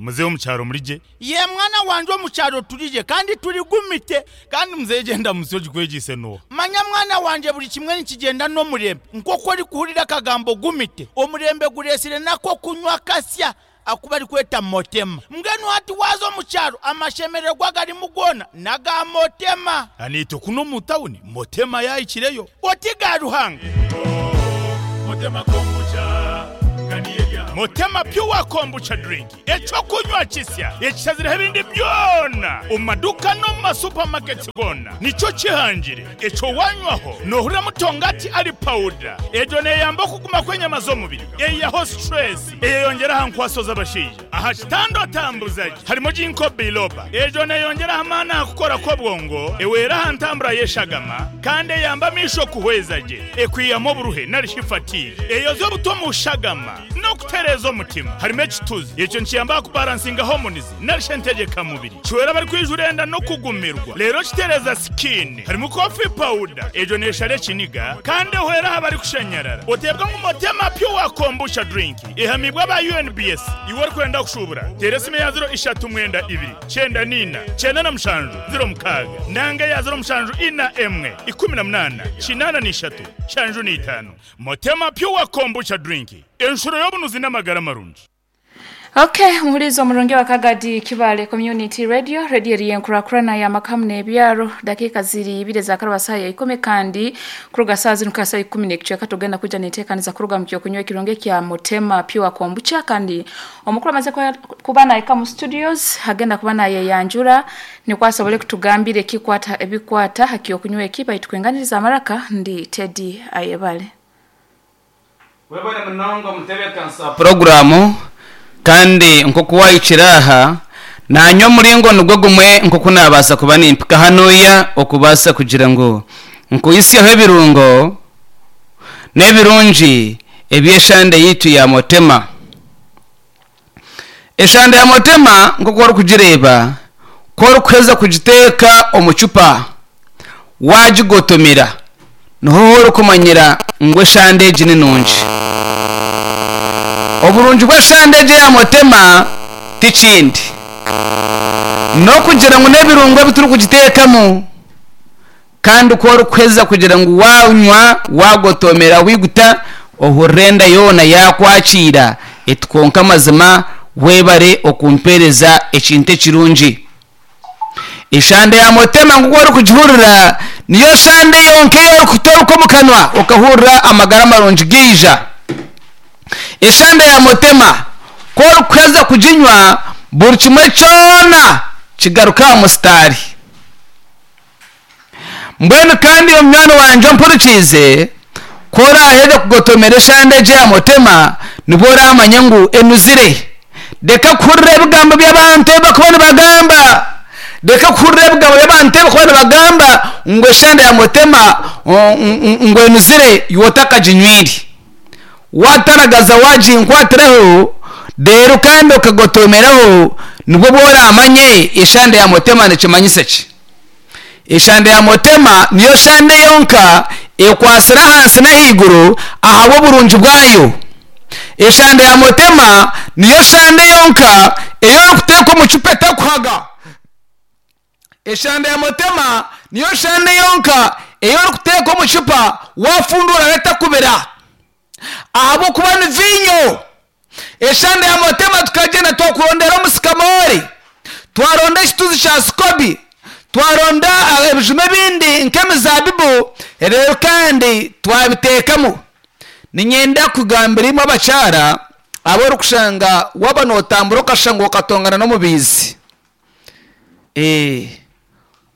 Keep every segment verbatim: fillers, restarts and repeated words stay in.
Muzehe omu kyaro murigye? Ye mwana wanje, omu kyaro turigye kandi turigumite. Kandi muzehe gyenda musyo ogikwegiise n'oha? Manya mwana wanje, buri kimwe nikigyenda n'omurembe. Nk'oku orikuhurira akagambo gumite, omurembe gureetsire nako kunywa kasya aku barikweta Motema. Mbwenu hati waaza omu kyaro, amashemererwa agarimu goona n'aga Motema. Aniitwe kunu omu tawuni Motema yaahikireyo. Oti ga Ruhanga. Motema Pure Kombucha Drink, ekyokunywa kisya ekishazireho ebindi byona omu maduuka n'omu masupamaketi goona, nikyo kihangire ekyo wanywaho noohurira mutongati ari pawuda. Egyo neeyamba okuguma kw'enyama z'omubiri, eihaho stress, eyeyongyera aha nkwaso z'abashaija. Aha kitanda otambuza gye harimu ginkgo biloba, egyo neeyongyera aha maani aha kukora kw'obwongo, ehwera aha ntambura y'eshagama kandi eyamba amaisho kuhweza gye, ekwihamu oburuhe narishi fatigue, eyoza obuto omu shagama n'okutereeza omutima. Harimu ekituzi, ekyo nikiyamba aha kubaransinga hormones narishi entegyekamubiri, kihwera abarikwijura enda n'okugumirwa, reero kitereeza skin. Harimu coffee powder, egyo neeshara ekiniga kandi ehwera aha barikushanyarara. Oteebwa ngu Motema Pure Kombucha Drink ehamibwe aba U N B S. Iwe orikwenda kushuubura, teera esimu eya ziro ishatu mwenda ibiri kyenda niina kyenda na mushanju ziro mukaaga nanga eya ziro mushanju ina emwe ikumi na munaana kinaana n'ishatu nshanju n'itaano. Motema Pure Kombucha Drink, enshuro y'obunuzi n'amagara marungi. Okay, muhulizo omurungi wa Kagadi Kibale Community Radio, radio eri enkurakurana ya makamu n'ebyaro. Dakika ziri ibiri za saa ya ikumi, kandi kuruga saa zino saa ikumi n'ekicweka tugenda kuja neteekaniza kuruga mu kyokunywa ekirungi kya Motema Pure Kombucha. Kandi omukuru amaze kwa- kuba naika mu studios, agenda kuba nayeyanjura nikwo asobole kutugambira ekikwata ebikwata ha kyokunywa eki. Baitu kwenganiriza amaraka, ndi Teddy Ayebale. Webale munonga omutebeekanisa puroguramu. Kandi nk'oku wahikire aha, nanye omuringo nigwo gumwe nk'oku nabaasa kuba nimpika hanuya okubaasa kugira ngu nkuhisyeho ebirungo n'ebirungi eby'eshande yitu ya Motema. Eshande ya Motema, nk'oku orikugireeba, ku orikuheza kugiteeka omu cupa wagigotomera, niho orikumanyira ngu eshande egi ni nungi. Oburungi bw'eshande egi ya Motema tikindi n'okugira ngu n'ebirungo ebi turikugiteekamu, kandi ku orikuheza kugira ngu wanywa, wagotomera, wiguta, ohurira enda yoona yakwakiira eti, "Konka amazima webare okumpereza ekintu ekirungi." Eshande ya Motema, nk'oku orikugihurira, niyo shande yonka ei orikutoruka omu kanwa okahurira amagara marungi gaija. Eshande ya Motema, ku orikuheza kuginywa, buri kimwe kyona kigaruka aha musitaari. Mbwenu kandi omunywani wangye ompurikiize, ku oraheza kugotomera eshande egi ya Motema, nibwo oramanya ngu enuzire. Reka kuhurira ebigambo by'abantu ebi bakuba nibagamba, reka kuhurira ebigambo by'abantu ebi bakuba nibagamba ngu eshande ya Motema o- n- ngu enuzire, iwe otakaginywire. Wataragaza waginkwatiraho rero kandi okagotomeraho, nibwo bworamanye eshande ya Motema nikimanyisa ki. Eshande ya Motema niyo shande yonka ekwasira ahansi n'ahaiguru ahabw'oburungi bwayo. Eshande ya Motema niyo shande yonka eyorikuteeka omu cupa etakuhaga. Eshande ya Motema niyo shande yonka eyorikuteeka omu cupa wafundura etakubira, ahabwokuba ni vinyo. Eshande ya Motema, tukagenda twakurondera omusikamori, twaronda ekituzi kya sikobi, twaronda ah, ebijuma ebindi nk'emizabibu, rero kandi twabiteekamu. Ninyenda kugambira imwe abakyara abo orikushanga waba notambura okashanga okatongana n'omubiizi. Eh,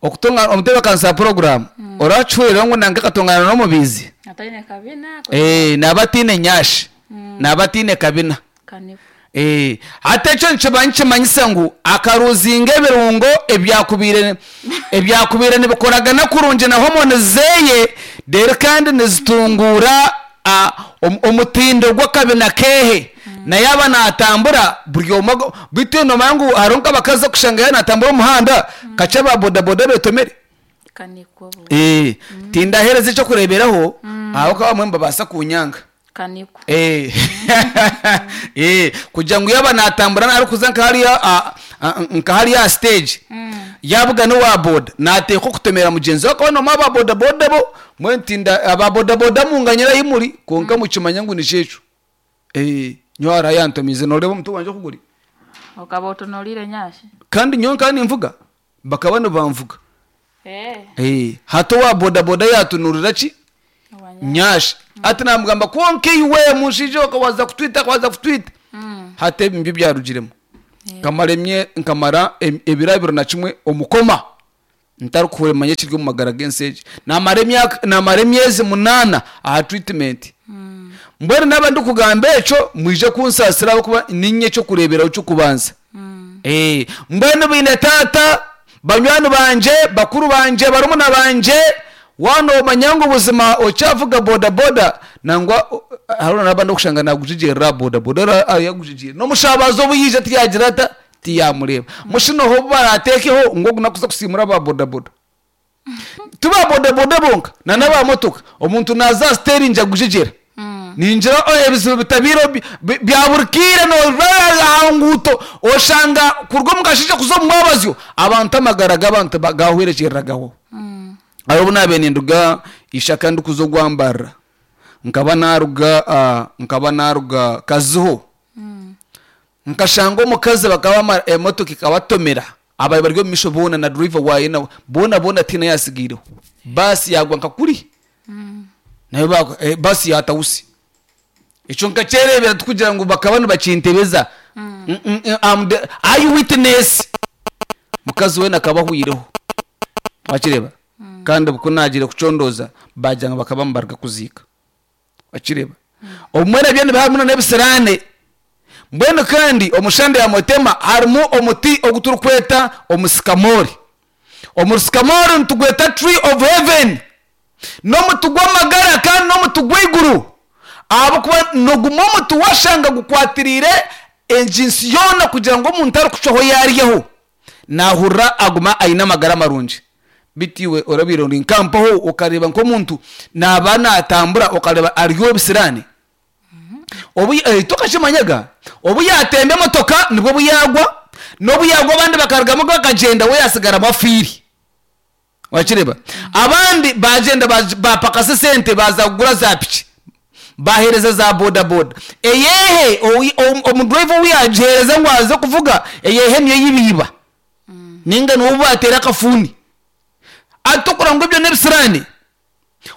okutonga omutebeekanisa program, orakihuurira ngu nange katongana n'omubiizi. Ataine kabina. Eh, naba atiine nyashi, naba atiine kabina. Kanifu. Eh, hati ekyo nikiba nikimanyisa ngu akaruzinga ebirungo ebyakubiire ebyakubiire nibikoragana kurungi na hormone zeye, rero kandi nizitungura ah, om- omutindo gw'akabina kehe. Naye aba natambura buri omwe ago- bitu nomanya ngu hariho nk'abakazi okushanga ya natambura omuhanda kakye aba bodaboda betomere. Kanikwo. Eh, tindahereza ekyokureberaho aho ka bamwe nibabaasa kunyanga. Kaniko. Eh. Eh, kugira ngu yaba natambura arikuza nka hariya a- a- nka hariya stage yabuga n'owa boda nateekwa okutomera mugyenzi we akaba nomu aba boda boda bo mbwenu ntinda aba boda boda munganyira ahi muri kwonka mukimanya ngu nikyo Eh, nyowe hariho ayantomize noreeba omuti gwangye oku guri. Okaba otunulire nyashi. Kandi nyowe nkaba ninvuga bakaba nibanvuga. Eh. Eh, hati owa boda boda yatunurira ki Owa nyashi ati namugamba kwonka iwe mushaija okawaza kutwita akawaza kutwita hati ebi nibyo byarugiremu nkamara emye nkamara em- ebiro abiri na kimwe omukoma ntarikuhuremanya ekiri omu magara g'ensi egi namara emyaka namara emyezi munaana aha treatment mbwenu naba ndikugamba ekyo mwije kunsaasira ahabw'okuba ninye ekyokureeberaho ky'okubanza. Eh, mbwenu baine taata banywani bangye bakuru bangye barumuna bangye waaba noomanya ngu buzima okyavuga boda boda nangwa o- hariho n'abandi okushanga nagujigyerera boda boda yagujigyere n'omushabazi obu yaija tiyagira ata tiyamureeba mushinoho obu barateekeho ngu ogu nakuza kusiimura aba boda boda ti ba boda boda bonka na n'aba motoka omuntu naaza aha siteringi agujigyera ningira oh, ebizibu bitabiire bi- bi- bya buri kiire noba aha nguuto oshanga kuruga omu kasheeshe kuza omu mwabazyo abantu amagara g'abantu ba- gahwerekyereragaho. Hariho obu naabaire ninduga ishaka ndikuza ogwambarira nkaba naruga ah, nkaba naruga Kaziho nkashanga omukazi bakaba bamara emotoka ekabatomera abaye bari omu maisho boona na driver waayo nawe boona boona tihaine eyasigaireho baasi yagwa nka kuri nayo bagwa eh, baasi yatawusi ekyo nkakyereebera tikugira ngu bakaba nibakintebeza. Mm, mm, mm, I'm the eye witness. Mukazi weena akaba ahwireho wakireeba kandi ku naagiire kucondooza bagira ngu bakaba nibaruga kuziika wakireeba obumwe nabyo nibiba harimu n'ebisiraane. Mbwenu kandi omushande ya motema harimu omuti ogu turikweta omusikamori. Omusikamori nitugweta tree of heaven, n'omuti gw'amagara kandi n'omuti gw'eiguru ahabw'okuba nigumwe omuti washanga gukwatiriire enjinsi yoona kugira ngu omuntu arikucwaho yaryaho nahurira aguma aine amagara marungi. Bitu iwe orabiire ori nkampaho okareeba nk'omuntu naaba natambura okareeba ariho ebisiraani obu eh, tokakimanyaga obu yatemba emotoka nibwo buyagwa n'obu yagwa abandi bakarugamu bakagyenda we yasigaramu afiire wakireeba abandi bagyenda baj- bapakasa esente baza kugura za piki bahereza za boda boda eyehe owi- om- omudriver owu yagihereza ngu aze kuvuga eyehe niyo yibiiba ninga niwo batera akafuni atokora ngu ebyo n'ebisiraani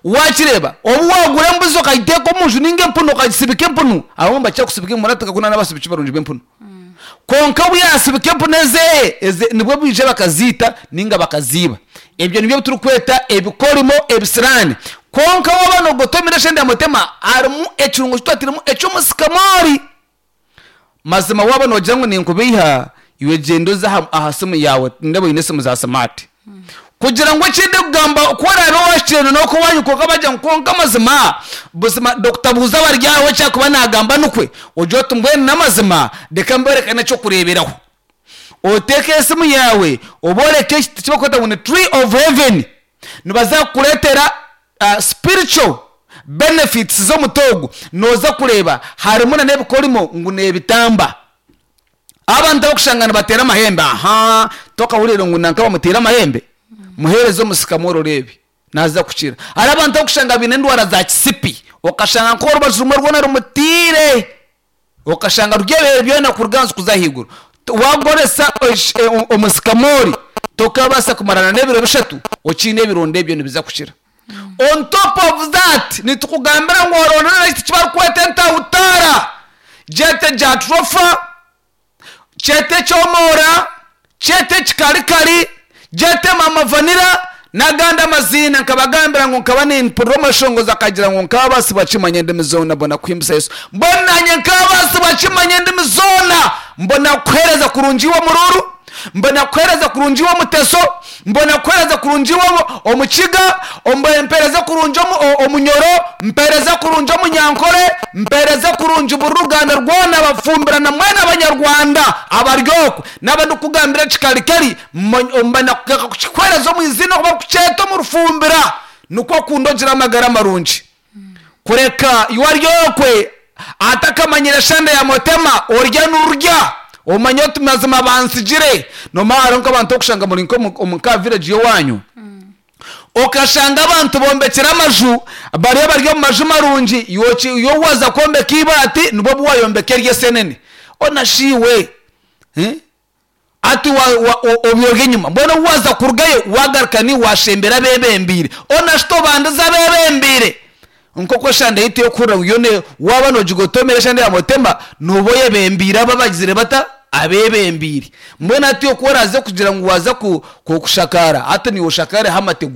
wakireeba obu wagura embuzi okagiteeka omunju ninga empunu okagisibika empunu abamwe nibakira kusibika empunu hati tukakunda n'abasibiki barungi b'empunu kwonka obu yasibika empunu ezeeye eze nibwo baija bakaziita ninga bakaziiba. Ebyo nibyo turikweta ebikorimo ebisiraani. Kwonka waaba nogotomera eshenda ya mutema harimu ekirungo kitwatiremu eky'omusikamori. Mazima waaba noogira ngu ninkubeiha iwe gyenda oze aha aha simu yawe ndeba oine esimu za smart kugira ngu ekindi kugamba ku oraabe wakireeba n'oku waanywa kwonka bagira ngu kwonka amazima buzima Doctor Buuza Baryaho ekyakuba naagamba nikwe ogire oti mbwenu n'amazima reka mboreke n'ekyokureeberaho oteeke esimu yawe oboreke ekiti kibakweta ngu ni tree of heaven nibaza kukureetera uh, spiritual benefits z'omuti ogu nooza kureeba harimu na n'ebikorimo ngu n'ebitamba. Abantu abakushanga nibateera amahembe aha tokahurire ngu nanka bamuteire amahembe muheereze omusikamoro oreebe naza kukira. Hariho abantu abakushanga baine endwara za kisipi okashanga nk'orubaju rumwe rwona rumutiire okashanga ruri byona kuruga ahansi kuza ahaiguru wagoresa omusikamori tokabaasa kumarana n'ebiro bishatu okiine ebironda ebyo nibiza kukira. On top of that nitukugambira ngu orondere ekiti kibarikweta entahutara gyete jatropha kyete kyomora kyete kikarikari gyete mama vanira n'agandi amaziina nkabagambira ngu nkaba nimpurira omashongozi akagira ngu nkabaasi bakimanya endimi zoona mbona kuhimbisa Yesu mbona nanye nkabaasi bakimanya endimi zoona mbona kuhereza kurungi iwe omururu mbona kuhereza kurungi iwe omuteso mbona kuhereza kurungi iwe omukiga mpereza kurungi omunyoro mpereza kurungi omunyankore mpereza kurungi buri ruganda rwona bafumbirana mwena abanyarwanda abaryokwe naba ndikugambira kikarikari mbona kukikwereza omu izina kuba kukyeta omu rufumbira nikwo kundogira amagara marungi. Kureka iwaryokwe atakamanyire shanda ya motema, orya nurya omanye oti mazima bansigire. Nomara hariho nk'abantu okushanga muri nk'omu ka village yowanyu, okashanga abantu bombekire amaju, bariyo bari omu maju marungi, yo waza kwombeka ibaati nibwo bwayombeka eryesenene onashiwe, eh? Ati obyorya enyuma, mbwenu waza kurugayo wagaruka ni washembera abebembiire, onashita obandize abebembiire. Nk'oku eshanda yitu yokuhurira ngu yone waba nogigotomera eshanda ya motema, noba oyebembiire abo abagizire bata abebembiire. Mbwenu hati oku oraze kugira ngu waza kushakara, hati niiwe oshakareho amategura.